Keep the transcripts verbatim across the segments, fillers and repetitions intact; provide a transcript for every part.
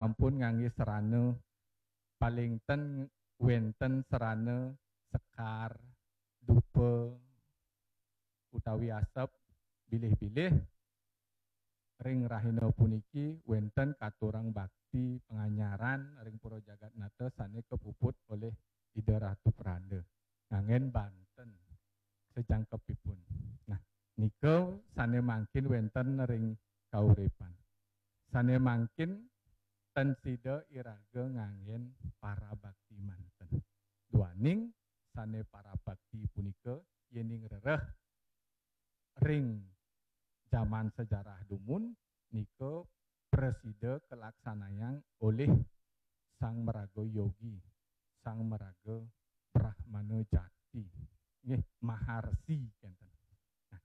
Ampun nganggé serana, paling ten wénten serana sekar, dupa, utawi asep, bilih-bilih ring rahina puniki wénten katurang bakti panganyaran ring pura jagat nata sané kapuput olih Ida Ratu Pranda nganggén banten sajangkepipun. Nah, nika sané mangkin wénten ring kauripan. Sané mangkin ten sida iraga nganggén parabakti manten. Duaning sané parabakti punika yéning rereh ring jaman sejarah dumun nika prasida kalaksanayang olih sang maraga yogi, sang maraga brahmana jati, nggih, maharsi kénten. Nah,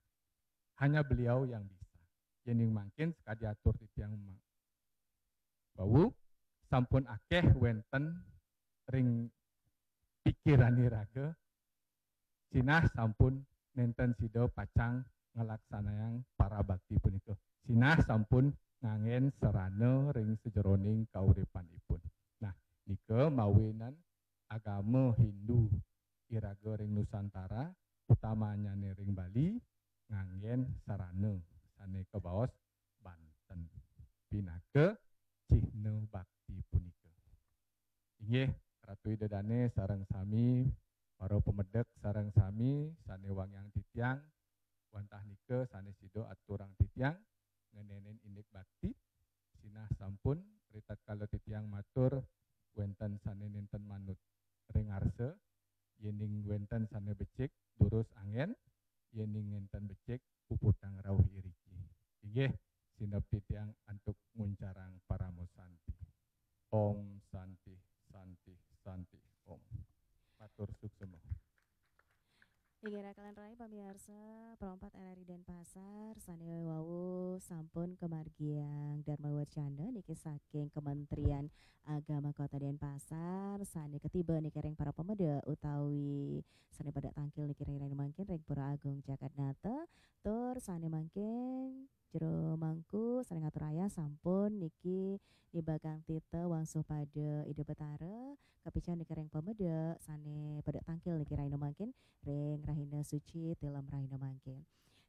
hanya beliau yang bisa. Yéning mangkin sakadi atur titiang ma-, wau sampun akéh wénten ring pikiran iraga, sinah sampun nénten sida pacang nglaksanayang parabakti punika. Sinah sampun nganggén serana ring sajeroning kauripanipun. Nah, nika mawinan agama Hindu iraga ring Nusantara, utamanyané ring Bali, nganggén serana sané kabaos banten pinaka cihna bakti punika. Inggih, Ratu Ida Dané sareng sami, para pamedek sareng sami sané wangiang titiang, wantah nika sané sida aturang titiang ngenénin indik bakti, sinah sampun ritatkala titiang matur wénten sané nénten manut ring arsa, yéning wénten sané becik durus anggén, yéning nénten becik puputang rauh iriki. Inggih, sineb titiang antuk nguncarang parama santi. Om Santi, Santi, Santi, Om. Matur suksema. Inggih rakalan rai pamiarsa, Pro empat R R I Denpasar, sané wau sampun kamargiang Dharma Wacana niki saking Kementerian Agama Kota Denpasar, sané katiba niki ring para pamedek utawi sané pada tangkil niki ring rahina mangkin ring Pura Agung Jagatnata, tur sané mangkin jero mangku sané ngatur ayah sampun niki nibagang tita wangsuh pada Ida Betara, kapican niki ring pamedek sané pada tangkil niki rahina mangkin ring rahina suci tilem rahina mangkin.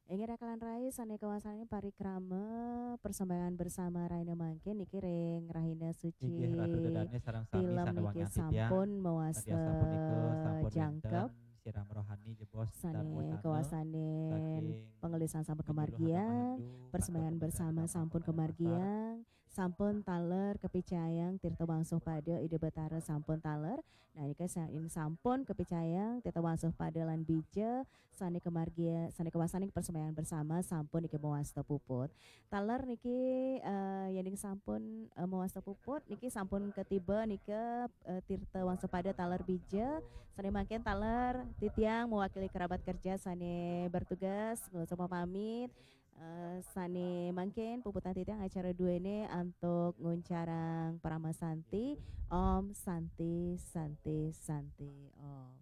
Inggih rakalan rai sané kawastanin parikrama persembahyang bersama rahina mangkin niki ring rahina suci. Inggih Ratu Ida Dané sareng sami tilem sané niki wangiang titiang. Sampun mawasta. Tadi asapunika sampun jangkep. Wénten siram rohani jebos sané Dharma Wacana kawastanin saking pangelisan sampun Hindu Loh Agama kamargiang, Hindu, persembahyang Keraton bersama Bendana sampun Keraton Bendana kamargiang, sampun taler kapicayang tirta wangsuh pada Ida Betara sampun taler. Nah, nika sa-, ing sampun kapicayang tirta wangsuh pada lan bija sané kamargia, sané kawastanin persembahyang bersama sampun niki mawasta puput. Taler niki, eh, yéning sampun, eh, mawasta puput niki sampun katiba nika, eh, tirta wangsuh pada taler bija. Sané mangkin taler titiang mewakili kerabat kerja sané bertugas, nglungsur pamit. Eh, sané mangkin puputang titiang acara duéné antuk nguncarang parama santi. Om Santi, Santi, Santi, Om.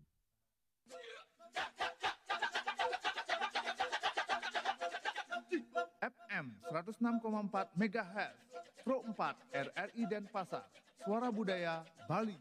F M seratus enam koma empat megahertz, Pro empat R R I Denpasar, Suara Budaya Bali.